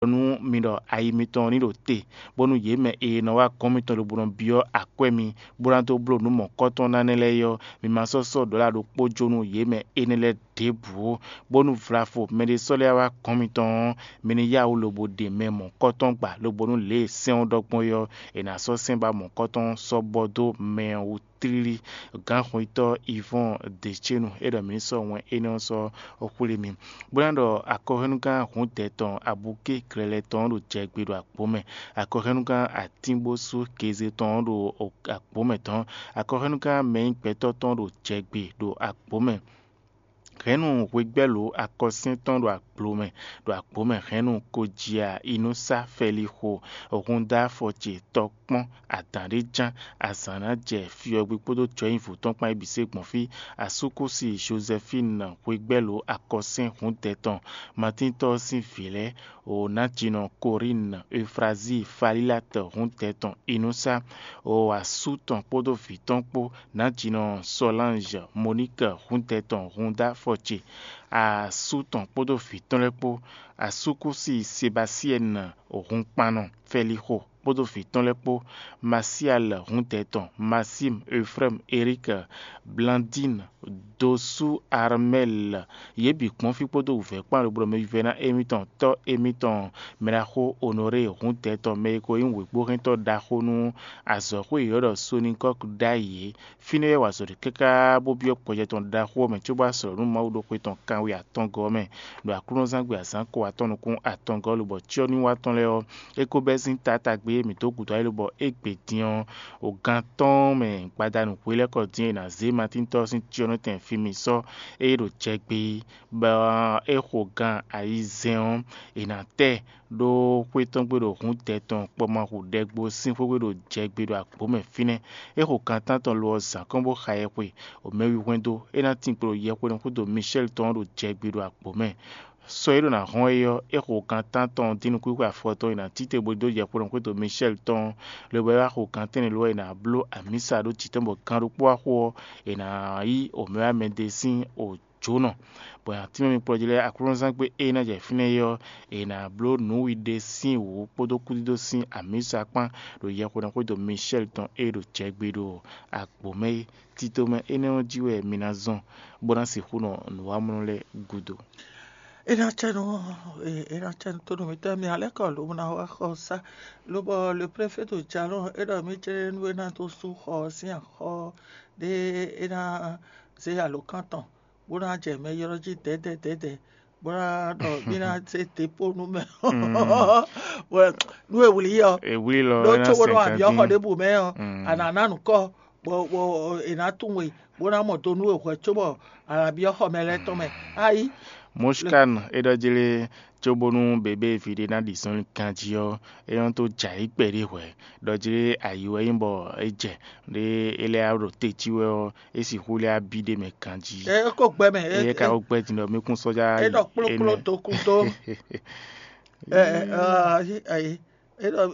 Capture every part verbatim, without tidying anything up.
nú mi ɖɔ ayi mitɔn ní ɖo te, bónú yě mɛ e nɔ wá gɔ́n mitɔn lobo nɔ byɔ́ akwɛ́ mi, bó ná dó bló nǔ mɔ̌kɔ́tɔn ná nɛ́ lɛ́ɛ é ɔ́, mi ma sɔ́ sɔ́ ɖɔ̌la ɖokpó jó nú yě mɛ énɛ́ lɛ́ɛ ɖěbǔ ó, bónú vlafo mɛɖé sɔ́ lɛ́ wá gɔ́n mitɔn ɔ́, mi ní yá wǔ lobo ɖe mɛ mɔ̌kɔ́tɔn gba, lobo nú lě e sɛ́n ɔ́ ɖɔ gbɔn é ɔ́, è nǎ sɔ́ sɛ́n ba mɔ̌kɔ́tɔn sɔ́ bɔ dó mɛ ɔ́ wú tlílí. Gǎnxwetɔ́ Ivɔ́ɔn Decenu é ɖɔ mǐ ní sɔ́ wɛn énɛ́ ɔ́ sɔ́ xwlé mi, bó ná ɖɔ akɔhwɛ́núgán Hǔndɛ tɔn Abuké Glɛlɛ tɔn ɔ́ ɖo jɛgbe ɖo agbǒ mɛ, akɔhwɛ́núgán Atíngbósú Geze tɔn ɔ́ ɖo agbǒ mɛ tɔn, akɔhwɛ́núgán Mɛnyígbɛtɔ́ tɔn ɔ́ ɖo jɛgbe ɖo agbǒ mɛ. Hɛ̌nnu hwegbɛ́lǒ akɔsyɛ́n tɔn ɖo agblo mɛ, ɖo agbǒ mɛ hɛ̌nnu Kojia Inúsá Fɛlixo Hunda Fɔce tɔkpɔ́n adǎn ɖé ján azǎn ná jɛ fyɔ́gbí kpódó jɔnyívo tɔn kpán é bǐ se gbɔn fí. Asúkúsi Jozɛfín hwegbɛ́lǒ akɔsyɛ́n hǔndɛ tɔn Matíntɔ́ sín vǐ lɛ́ɛ, o nǎjinɔ Korín Eufrazíi Falílat hǔndɛ tɔn Inúsá, o asú tɔn kpódó vǐ tɔn kpó, nǎjinɔ Solange Monique húndɛ tɔn Hunda Fɔce, asú tɔn kpódó vǐ tɔn lɛ́ɛ kpó, asúkúsi Sebasyɛ́n hunkpannɔ Fɛlixo kpódó vǐ tɔn lɛ́ɛ kpó, Masial húndɛ tɔn Masín, Efrɛ́m, Erík, Blandín, Dosú, Armɛ́l, yě bǐ kpɔ́n fí kpódó wǔvɛ́ kpán lobo ɖo mɛ vívɛ́ná émítɔn tɔ́ émítɔn mɛɖaxó Onorée húndɛ tɔn mɛ e ko nyí wěgbóhɛntɔ́ ɖaxó nú azɔ̌xwé e è ylɔ́ ɖɔ Sonikɔ́k ɖ'ayǐ é. Fínɛ́ wɛ è wa azɔ̌ ɖe káká bó byɔ́ gbɔjɛ tɔn ɖaxó ɔ́ mɛ cóbɔ azɔ̌ nú Mawu ɖo xwe tɔn kanwe atɔngɔ́ ɔ́ mɛ, ɖo aklúnɔzángbe azǎn ko atɔn nukún atɔngɔ́ lobɔ cyɔ́núwa tɔn lɛ́ɛ ɔ́, é ko bɛ́ sín taátagbe e mǐ dó gǔdo ayǐ lobɔ égbé din ɔ́, o gan atɔ́ɔ́n mɛ gbadanu hwelɛ́kɔ din e è nǎ zé Matíntɔ́ ɔ́ sín cyɔ́nɔtɛn fí mì sɔ́ é ɖo jɛ gbé, bɔ é xo gan ayizɛ́n ɔ́, è nǎ tɛ ɖó xwé tɔn gbe ɖo hǔndɛ tɔn kpɔmahú ɖɛgbo sín xwé gbe ɖo jɛ gbe ɖo agbǒ mɛ fínɛ́. É xo gan tántɔn lo ɔ́ zǎn kɔn bó xa yɛhwe, o mɛwi hwɛndo, é ná tin kpo ɖo yɛhweɖɔn xwédo Mishɛ́li tɔn ɔ́ ɖo jɛ gbe ɖo agbǒ mɛ. Sɔ e ɖo ná hɔn é ɔ́, é xo gan tántɔn dín nukúnxwe afɔtɔn e nǎ títɛn bó dó yɛhweɖɔn xwédo Mishɛ́li tɔn ɔ́, lobo é wá xo gan tɛ́nnɛ lo ɔ́, è nǎ bló amǐsa ɖó jǐ tɔn bɔ gan ɖokpó wá xo ɔ́, è nǎ yí omɛwámɛdé sín o jǒnɔ, bɔ è nǎ tínmɛ mi kplɔ́ jí lɛ́ɛ aklúnɔzángbe e ná jɛ fínɛ́ é ɔ́, è nǎ bló nǔwiɖe sín wǔ kpódó kúdídó sín amǐsa kpán ɖo yɛhweɖɔn xwédo Mishɛ́li tɔn e ɖo jɛ gbe ɖo agbǒ mɛ é. Tito mɛ énɛ́ ɔ́ jí wɛ mi ná zɔn, bó ná sixú nɔ nǔwamlɔ lɛ́ɛ gúdo. É ná cɛ nú é ná cɛ nú tónú mǐtɔn mì alɛ́ kɔ lǒ ná wá xɔ sá, lobɔ le préfet ɖo jalɔn é ɖɔ mí jlɛ́ nú é ná dó sú xɔ ɔ́ sín axɔ ɖé é ná zé alǒkan tɔn, bó ná jɛ mɛ ylɔ́ jí dɛ̌dɛ̌ dɛ̌dɛ̌, bó ná ɖɔ mí ná zé depó nú mɛ ɔ́, nú e wlí ɔ́, Èwlí lɔ ɖó é ná có bónú sɛn a byɔ́ xɔ kantín. Ɖěbǔ mɛ ɔ́, Mm. A nǎ ná nǔ kɔ, bɔ bɔ è nǎ tunwun we, bó ná mɔ do nú we hwɛ̌ cóbɔ a nǎ byɔ́ xɔ mɛ lɛ́ɛ tɔn mɛ. Ayi. Moshkan é ɖɔ jí lé, cóbónú bebé ví ɖé ná ɖi zɔnlin ganjí ɔ́, é nɔ tó jɛ ayǐ kpɛɖé hwɛ̌. Ɖɔ jí lé ayǐ wɛ nyí bɔ é jɛ ɖé é lɛ́ ɖo te jí wɛ ɔ́, é sixú lɛ́ abí ɖé mɛ ganjí. É kó gbɛ mɛ, é Éyɛ́ ka é- ko gbɛ́ din ɖɔ mí kún sɔ́já é ɖɔ kplókpló énɛ́. Do kún dó. Ɛ, ɛ, ɛ, ayi, ayi. É ɖɔ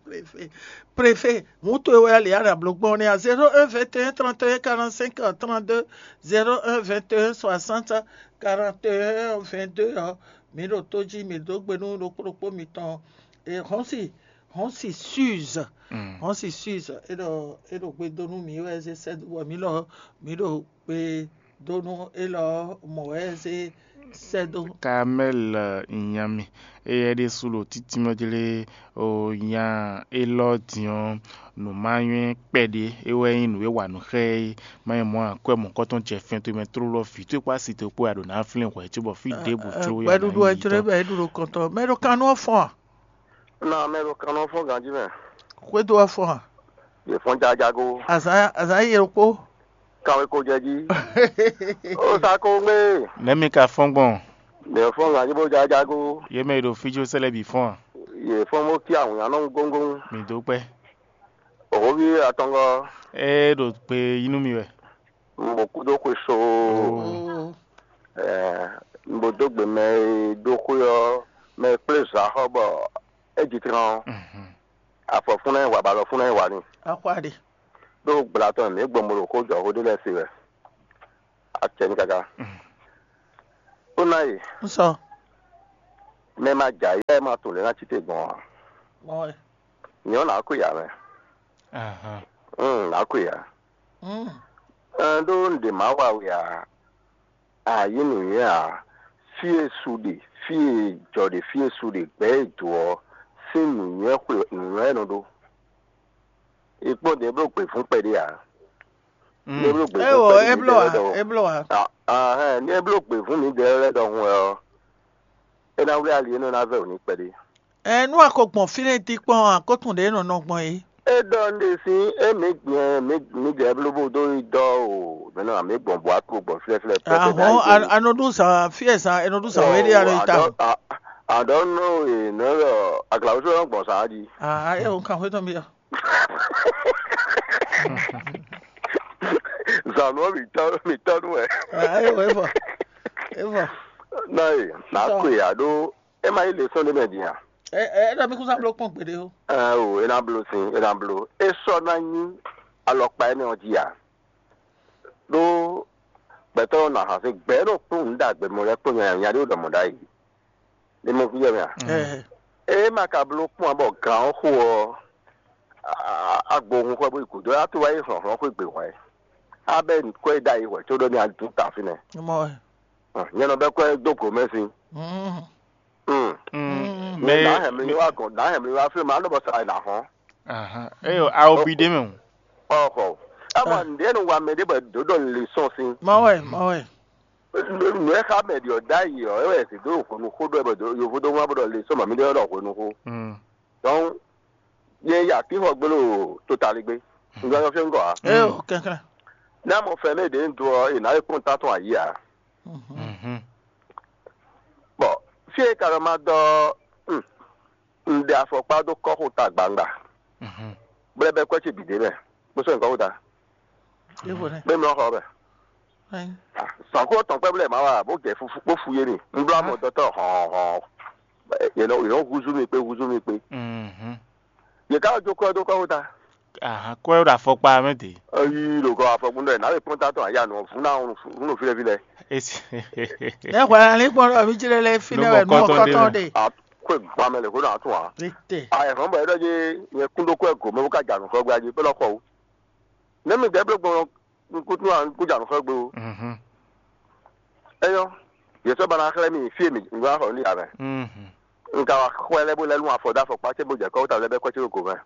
préfet, préfet, mǔ towe wɛ ali ana bló gbɔn nɛ́ a, zéro un vingt et un trente et un quarante-cinq trente-deux, zéro un vingt et un soixante quarante et un vingt-deux ɔ́, mǐ ɖo tó jí, mǐ dó gbe nú ɖokpó ɖokpó mitɔn. E hɔn si hɔn si Suze, Mm. Hɔn si Suze, é ɖɔ é ɖo gbe dó nú mǐ wɛ zé sɛ́ dó bɔ mǐ lɔ mǐ ɖo gbe dó nú élɔ́ mɔ̌ wɛ é zé sɛ́ dó. Kamɛ́l nyami, éyɛ́ ɖésú ɖo títínmɛ jí lé, o nya élɔ́ din ɔ́, nǔ ma nywɛ́ kpɛɖé é wɛ nyí nǔ e wa nǔ xá ɛ é. Má nyí mɔ̌ ǎ, akwɛ́ mɔ̌kɔ́tɔn jɛ fɛn towe mɛ tlóló, vǐ towe kpó asi towe kpó wɛ a ɖǒ ná flín hwɛ̌ cóbɔ fí ɖěbǔ tlóló wɛ a nǎ Gbɛɖuɖu nyi ɛ jló tɔn. Bɔ é ɖu ɖo kɔntɔn. Mɛ ɖo kan nú ɔ́ fɔ́n a? Nɔ mɛ ɖo kan nɔ fɔ́n ganjí mɛ. Xwédo ɔ́ fɔ́n a? Yě fɔ́n jajago. Azǎn azǎn yi ɖokpó. Kanweko jɛ jí. Ó sá kó ŋgbé. Nɛ̌ mi ka fɔ́n gbɔn? Mɛ fɔ́n ŋa yí bó jajago. Yě mɛ e ɖo fí jó sɛ́ lɛ́ɛ bǐ fɔ́n a? Yě fɔ́n bó cí awǐnnya nɔ góngón. Mi dó kpɛ́. Òhóví atɔngɔ́. É ɖo gbe yí nú mi wɛ. Un bo kúdó xwe soo. Oo. Ɛɛ, un bo dó gbe mɛ e dó xwé ɔ́, mɛ e kplé zǎxɔ bɔ é ji tlan ɔ́, Mhm. Afɔ fún ná yi wa, bɔ alɔ fún ná yi wa n'i. Axwa ɖe. Ɖó gbla tɔn mǐ gbɔn mo ɖo xó jɔ xó ɖé lɛ́ɛ se wɛ. Acɛ ní káká. Mm. Ó ná yi. Un sɔ. Mɛ ma jɛ ayǐ wɛ ma tunwun lě ná cí te gbɔn ǎ. Nyɔ̌ nǎ kú ya mɛ. Nǎ kú ya. Ɛn ɖó un ɖe má wa we ǎ. A yí nǔnywɛ́ ǎ. Fí e su ɖe, fí e jɔ ɖe, fí e su ɖe, gbɛ̌ e dǒ ɔ́ sín nǔnywɛ́ xwe nǔnywɛ́ e nɔ ɖó. È kpɔ́n ɖě bló gběfún kpɛɖé ǎ. Ní é bló gběfún Ewɔ kpɛɖé é mǐdɛɛ bló ǎ, lɛ́ɛ ɖɔhun. É bló ǎ. Ah, ah, ní é bló gběfún mǐdɛɛ lɛ́ɛ ɖɔhun wɛ ɔ́, é ná wlí ali e nɔ ná vɛ wǔ n'i kpɛɖé. Ɛ nú a ko gbɔn fínɛ́ dín kpɔ́n ɔ́, a ko tunwun ɖě e nɔ nɔ gbɔn é. É ɖɔ un ɖe sín émí gbɛn mǐdɛɛ bló bó dó yi dɔ́ o mɛ̌ nɔ amǐ gbɔn bɔ a klo gbɔn flɛ́flɛ́ pɛ́pɛ́ Ahɔn a nɔ ɖu zǎn fí e zǎn è nɔ ɖu zǎn wé ɖé a nɔ yi ta o. Àdɔ̌ nɔ e nɔ ɖɔ aglawúsó nɔ gbɔn zǎn jí. Ah, é o kan xwé tɔn byɔ́. Zǎn nú mǐtɔn mǐtɔn nú wɛ. Ah, é o é vɔ. É vɔ. Nɔ e nǎ kwe ǎ ɖó é ma nyí lěsɔn ɖé mɛ din a? Ɛ ɛ é ɖɔ mí kún sá bló kpɔ́n gbeɖé o. Ɛ o, é ná bló sin, é ná bló. É sɔ́ ná nyí alɔkpa énɛ́ ɔ́ jí ǎ. Ɖó gbɛtɔ́ ɔ́ nɔ ahǎnsín gbɛ̌ ɖo kpún nǔ ɖagbe mɔ lɛ́ɛ kpó nyanya ɖé ɖɔ mɔ̌ ɖ'ayǐ. Ní mɔ kújɛ mɛ a? Ɛ É ma ka bló kpɔ́n ǎ bɔ gǎn ɔ́ xo ɔ́, a- a- agbo hun xwɛ bó yi gǔdo, a tó wá yi hlɔ̌nhlɔ́n xwé gbě hwɛ̌. A bɛ́ kwɛ́ ɖ'ayǐ hwɛ̌ có ɖɔ ní a dún ta fínɛ́. Mɔ wɛ. Nyɛ nɔ bɛ́ kwɛ́ dó gǒ mɛ sín. Mm. Mm. Mm. Mɛ Nǎ hɛn mi wá gɔn, nǎ hɛn mi wá fí ma, á nɔ bɔ sa è nǎ hɔn. Ahan. Eyo, awo bi ɖé mɛ o. Ɔxɔ. Ama nɖe nɔ wa mɛ ɖé bɔ dǒ ɖɔ le sɔn sín. Mɔ wɛ, mɔ wɛ. Nǔ e xa mɛ ɖi ɔ́ ɖ'ayǐ ɔ́, é wɛ è sǐ dó hwenu xó ɖɔ bɔ yovo dó wá bó ɖɔ le sɔn mami ɖé ɖɔ hwenu xó. Mm. Donc, nyɛ ya tixɔ gbélé o totali gbé. Un gba yɔ fɛn gɔ́ a. Eyo, kɛnklɛn. Ní a mɔ fɛn ɖé ɖě un dó ɔ́, è nǎ lɛ́ kpɔ́n ta tɔn ayǐ ǎ. Mhm. Bɔ fí e ka nɔ ma dɔ ɔ́, un ɖe afɔkpa dó kɔ́xota gbangba, bó lɛ́ bɛ́ kwɛ́ ce bǐ ɖ'é mɛ, bó sɔ́ nyǐkɔ xota, Evo nɛ. Bó mlɔ́ xɔ ɔ́ mɛ. Ayi. Zǎnxó tɔn kpɛ́ bó lɛ́ má wa, bó jɛ fufu bó fu yé mi. Un bló amɔ dɔtɔ́ hɔn hɔn. Yě nɔ yě nɔ húzú mi kpé húzú mi kpé. Yě ká jó kɔ́ dó kɔ́xota. Ahan, kɔ́ ɛ ɖo afɔkpa mɛ dě. Eyi ɖo kɔ afɔkun ɖɔ ná lè kpɔ́n tatɔ aya nɔ vún ná vún nɔ fílẹ̀ fílẹ̀. Esi. Ne hwɛ na ní kpɔn ɖɔ mí jlé lé fi ne wɛ nú kɔtɔn ɖe. A kó gba mɛ lè kó nà tún wa. Tètè. A yɛ hɔn bɔ yɛ dɔ dzi nyɛ kún ɖó kó ɛ gǒ mɛ bó ká jà nù xɔ gba dzi bó lɔ xɔ o. Ne mi dɛ bló gbɔn nkútú wa nkú jà nù xɔ gbé o. Eyɔ, yɛ sɔ ba na xlɛ mi fi mi ngba xɔ ní amɛ. Nka wa xɔ lɛ bó lɛ lún afɔ dá afɔkpa cɛ bó jɛ kɔ wó ta lɛ bɛ kɔ cɛ bó gǒ mɛ.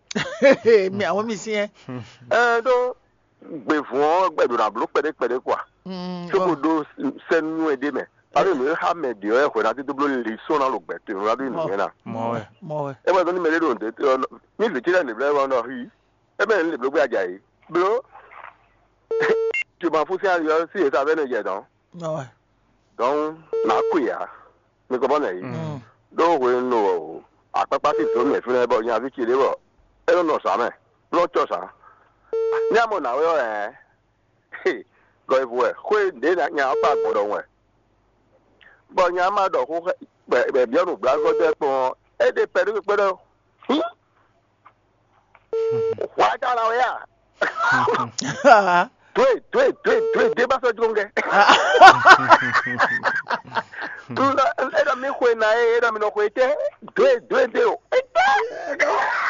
Mi àwọn mi syɛn. Ɛ ɖó gbevun ɔ́ gbɛ ɖo na bló kpɛɖé kpɛɖé kua. Soko ɖó sɛnu ɛ ɖé mɛ. Alo nǔ e xa mɛ ɖě ɔ́ wɛ hwɛ ná dídó bló lě sɔ́ ná lo gbɛ to ná ɖó nǔ nyɛ ná. Mɔ wɛ. Mɔ wɛ. E wɛ dɔn ní mɛ ɖé ɖo ǹdɛ ní vǐ tí lɛ nǐ blɛ́ wɛ nɔ hí. E mɛ ní lè bló gbé ajayi. Bló. Tuma fún sí ayɔ sí èsà bɛ ní jɛ dɔn. Mɔ wɛ. Dɔn nà kú ya. Mi kɔ bɔ nɛ yi. Ɖó hwenu nɔ akpakpa sí zǒn mɛ fínɛ́ bɔ nyaví ce ɖé bɔ é nɔ nɔ zǎn mɛ bó nɔ cɔ zǎn. Ní a mɔ nǎwe ɔ́ ɛ gɔyivu wɛ xwé ɖě nya ɔ́ kpa gbɔn ɖɔhun wɛ. Bɔ nya ma ɖɔ xó bɛ biɔ nǔgblágbɔ́ dó ɛ kpɔn ɔ́, é ɖe pɛ ɖó kpé ɖɔ hín. Hwá tá la wɛ a? Dwe dwe dwe dwe dé bá sɔ́ jló ŋgɛ. Tún lɔ é ɖɔ mí xwe ná é é ɖɔ mí nɔ xwe tɛ́ dwe dwe dé o.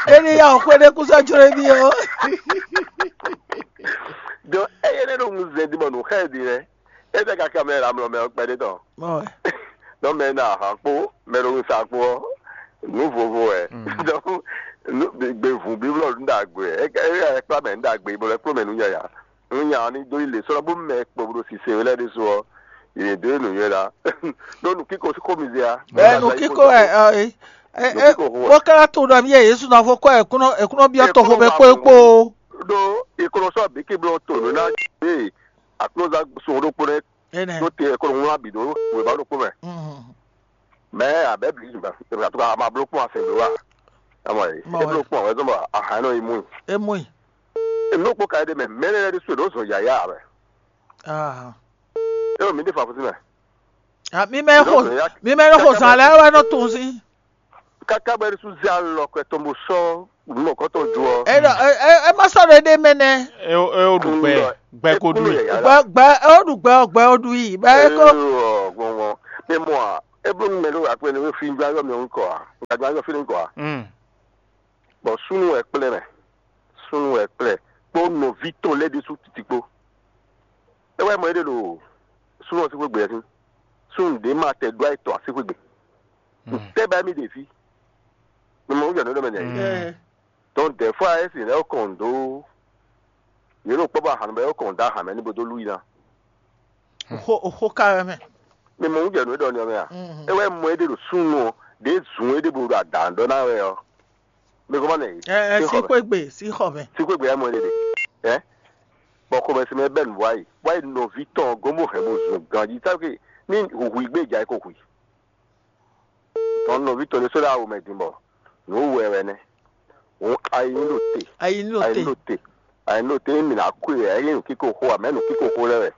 Éní ya ò xwe ɖé kú sɔ́ jló mí o. Donc eye ne ɖo ŋuzɛ di bɔ nǔ xɛ di nɛ. Ete kaka mɛ la mlɔ mɛ kpɛɖé tɔn. Nɔ mɛ na ahan kpó mɛ ɖo ŋusa kpó ɔ́, nǔ vovo wɛ. Donc gbevun bíblɔ nú ɖagbe wɛ. É kpla mɛ nú ɖagbe bɔ lɛ kpló mɛ nú nyanya. Nú nya ɔ́ ní dó yi lě sɔ́ bó mɛ kpo ɖo sise wɛ lɛ́ɛ ɖésú ɔ́, yě dó yi nǔnywɛ́ ɖá. Ɖó nǔkíko xó mi zé a? Ɛ nǔkíko wɛ ɛ ɛ bó ká tunwun ɖɔ mí yɛ Yesu ná fó kɔ ɛ kúnɔ ɛ kúnɔ byɔ́ toxo mɛ kpó é kpó. Ɖó ikɔnɔ sɔ́ bǐ kí bló to nǔ ná gbé aklúzán sun ɖokpó nɛ́. Tó te kó wlán bǐ ɖó wěma ɖokpó mɛ. Mɛ abɛ bǐ ɖo ka ma bló kpɔ́n asɛn bló wa. Ama yi e bló kpɔ́n wɛ zɔn bɔ ahan nɔ yi mú. E mú yi. Nú kpó ka ɖe mɛ mɛ lɛ ɖe su ɖo zɔn yaya wɛ. E mi ɖe fa fusi mɛ. Mi mɛ xo mi mɛ xo zan lɛ wɛ nɔ tun si. Kaka bɛ ɖe su zɛ alɔ kɛ tɔn bo sɔ nukɔtɔ ju ɔ. E ɖɔ e e ma sɔ ɖe ɖe mɛ nɛ. E o e o ɖu gbɛ gbɛ ko ɖu yi. Gbɛ gbɛ e o ɖu gbɛ o gbɛ o ɖu yi. Bɛ e ko. Gbɔngbɔn mi mɔ a. É bló nú mɛ ɖó akpɛ́nɛ wé fí gbá yɔ mɛ ŋkɔ a? Gbá yɔ fí ŋkɔ a? Mm. Bɔ súnnu wɛ kplɛ́ mɛ, súnnu wɛ kplɛ́ kpó nɔví tɔn lɛ́ɛ ɖésú titi kpó. É wɛ mɔ é ɖe ɖo súnnu ɔ́ sín xwé gbe ɛ sín. Súnnu ɖě ma tɛ ɖó ayetɔ así xwé gbe. Tɛ́ ba mì ɖe fí. Mi mɔ wújɔ nǔ ɖɔ mɛ nɛ. Ɛ, Donc des fois é sì lɛ́ kɔn dó yě ɖo kpɔ́ bɔ ahan bɔ é kɔn dó ahan mɛ ní bo dó lú yi ná. Oxó oxó ka wɛ mɛ. Mi mɔ wújɔ nǔ ɖɔ ní ɔ́ mɛ a? Mhm. É wɛ mɔ é ɖe ɖo súnnu ɔ́, ɖě zun é ɖe bo ɖo adǎn ɖɔ ná wɛ ɔ́. Mi gɔ́ mɔ nɛ yìí. Ɛ ɛ, sí xɔ mɛ. Xwé gbe, sí xɔ mɛ. Sí xwé gbe é mɔ é ɖe ɖe. Ɛ? Bɔ xɔmɛ sí mɛ bɛ́ nǔ wá yi. Wá yi nɔví tɔn gɔ́n bó hɛn bo zun ganjí. Sáké ní hǔhú gbé jà é ko hu i. Tɔn nɔví tɔn ɖé sɔ́ ɖo awu mɛ din bɔ nǔ wɛ wɛ nɛ́. Hǔn ayi ní ɖo te. Ayi ní ɖo te. Ayi ní ɖo te. Ayi ní ɖo te ní mǐ ná kú e ayi ní nǔkíko xó ǎ, mɛ̌ nǔkíko xó lɛ́ɛ wɛ.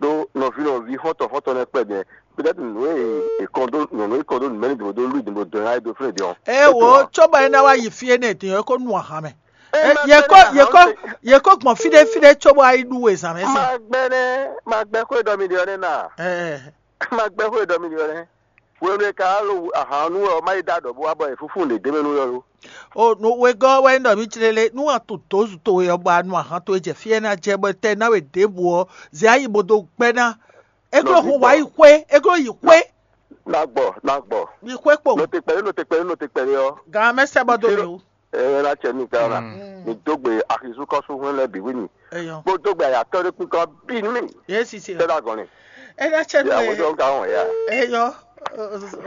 Ɖó nɔví nɔví xɔ́ntɔn xɔ́ntɔn nɛ́ kpɛ́ din. Peut-être nǔ e è kɔn dó nyɔ̌nu e kɔn dó nǔmɛ ní dǒ dó lú dǒ dó ná é dó flé din ɔ́. Ɛ wo, cóbɔ é ná wá yi fí énɛ́ din ɔ́, é kó nu ahan mɛ. Ɛ, yě kó yě kó yě kó gbɔn fí ɖé fí ɖé cóbɔ wá yi ɖú we zǎn mɛ sín. Magbɛ́ nɛ́, magbɛ́ xó e ɖɔ mi ɖe ɔ́ nɛ́ na. Ɛ. Magbɛ́ xó e ɖɔ mi ɖe ɔ́ nɛ́. Hwenu e ka wá lo ahan ɔ́ nú wɛ ɔ́, má yi ɖó aɖɔ̌ bó wá bɔ è fúfú nǔɖé mɛ nú wɛ lo. O nú wegɔ́ ɔ́ wɛ nyí ɖɔ mǐ clélé nú a to dǒzu towe ɔ́ bɔ a nu ahan towe jɛ fí e ná jɛ bɔ tɛ ná we ɖěbǔ ɔ́, zě a yi bo dó gbɛ́ ná. É gló hun wǎ yi xwé, é gló yi xwé. Ná gbɔ, ná gbɔ. Yi xwé kpo. Nɔ te kpɛɖé, nɔ te kpɛɖé, nɔ te kpɛɖé ɔ́. Gan mɛ sɛ bɔ dó mì wú. Ɛ ná cɛ ní gán na. Mi dó gbe axizú kɔsú hwɛn lɛ bǐ wí ni. Eyɔ. Bó dó gbe ayatɔ ɖé kpínkɔ bí nú mi. Yé sisi. Tɛ da gɔn ni. Ena cɛ nu. Ya wo dɔn ka wɔn ya. Eyɔ.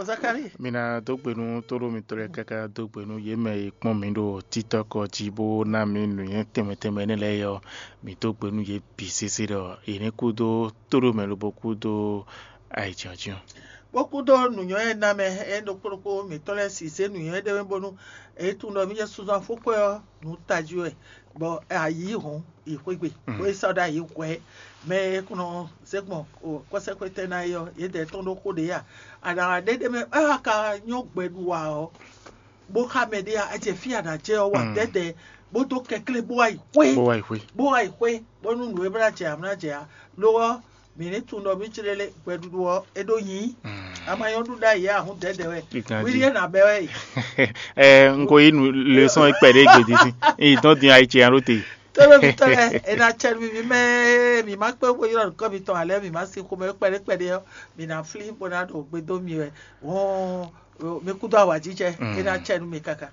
Zakari. Mi ná dó gbe nú tóɖó mitɔn lɛ́ɛ káká dó gbe nú yě mɛ e kpɔ́n mi ɖo títɔ́ kɔ jí bó ná mi nǔnywɛ́ tɛnmɛ tɛnmɛ énɛ́ lɛ́ɛ é ɔ́, mi dó gbe nú yě bǐ sésé ɖɔ yě ní kúdó tóɖó mɛ lobo kúdó ayǐjínjɔ́n. Bó kúdó nǔnywɛ́ e ná mɛ é ɖokpó ɖokpó mǐtɔn lɛ́ɛ si zé nǔnywɛ́ ɖé mɛ bónú é tunwun ɖɔ mí jɛ suzu afúkpɔ́ ɔ́ nǔ tají wɛ, bɔ ayǐ hɔn yi xwé gbe, bó é sɔ́ ɖó ayǐ hwɛ̌ mɛ e kɔn nɔ zé gbɔn kɔ́sɛ́xwétɛ́ ná é ɔ́, yědɛɛ tɔn ɖó xó ɖě a? Aɖaŋa ɖé ɖé mɛ é wá ka nyɔ́ gbɛ ɖu ǎ ɔ́, bó xá mɛ ɖé a, é jɛ fí a nǎ jɛ ɔ́ wa dɛ̌dɛ̌, bó dó kɛnklɛ́n bó wá yi xwé, bó wá yi xwé. Bó wá yi xwé, bónú nǔ e blá jɛ ǎ mlá jɛ ǎ. Lo ɔ́, mǐ ní tunwun ɖɔ mí jlé lé gbɛɖuɖu ɔ́, é ɖó nyí. Ama nyɔ́ ɖu ɖ'ayǐ ǎ, hǔn dɛ̌dɛ̌ wɛ. Wíɖí é nǎ bɛ́ wɛ yi. Ɛ, un ko yí nu lɛsɔn kpɛɖé gbèdé sín. Yi dɔn din ayi ce alo te. Tɔ́lɔ́ mi tɔ́lɛ, è nǎ cɛ nú mi mɛ, mǐ má kpé xó ylɔ́ nǔkɔn mitɔn ǎ lɛ́ɛ, mǐ má sin xomɛ kpɛɖé kpɛɖé ɔ́, mǐ ná flín bó ná ɖo gbe dó mi wɛ. Hɔn mi kúdó awǎjijɛ, é ná cɛ nú mi káká.